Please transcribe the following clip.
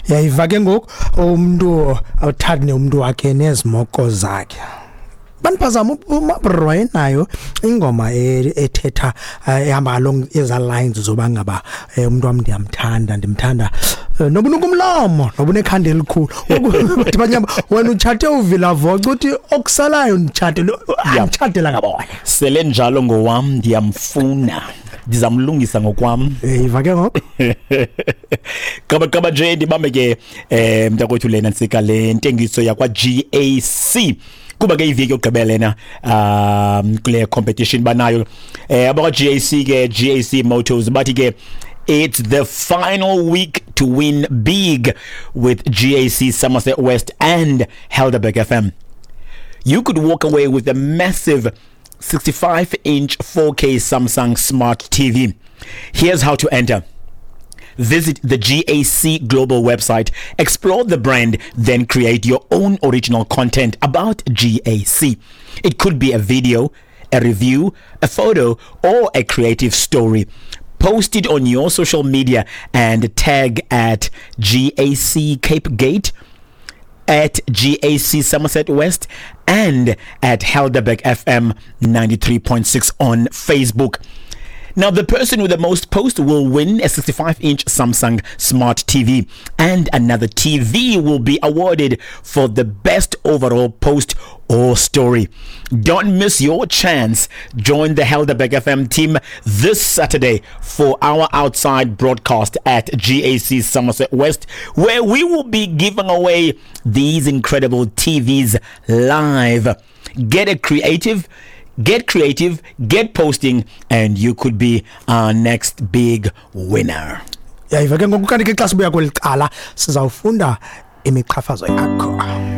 Yayiva ke ngoku, umntu awuthandi umntu wakhe nezimoko zakhe. Baniphazama, uMabro wayenayo ingoma ethetha, ehamba along eza lines zoba ngaba umntu wam ndiyamthanda, ndimthanda nobunuka umlomo, nobunekhanda elikhulu. Bathi banyama, wena utshate uvila voca, uthi okusalayo nditshatele, anditshatela ngabona. Sele njalo ngowam, ndiyamfuna, ndizamlungisa ngokwam. Yiva ke ngoku. Qaba qaba nje, ndibambe ke mntakwethu lena ntsika le ntengiso yakwa GAC, kuba ke iveki yokugqibela lena kule competition banayo abakwa GAC ke, GAC Motors. Bathi ke it's the final week to win big with GAC Somerset West and Helderberg FM. You could walk away with a massive 65-inch 4K Samsung Smart TV. Here's how to enter. Visit the GAC Global website, explore the brand, then create your own original content about GAC. It could be a video, a review, a photo, or a creative story. Post it on your social media and tag at GAC Cape Gate, at GAC Somerset West, and at Helderberg FM 93.6 on Facebook. Now, the person with the most posts will win a 65-inch Samsung Smart TV, and another TV will be awarded for the best overall post or story. Don't miss your chance. Join the Helderberg FM team this Saturday for our outside broadcast at GAC Somerset West, where we will be giving away these incredible TVs live. Get a creative, get creative, get posting, and you could be our next big winner. Yayiva ke ngoku. Kanti ke xa sibuya kweli cala sizawufunda imiqhafazo yakho.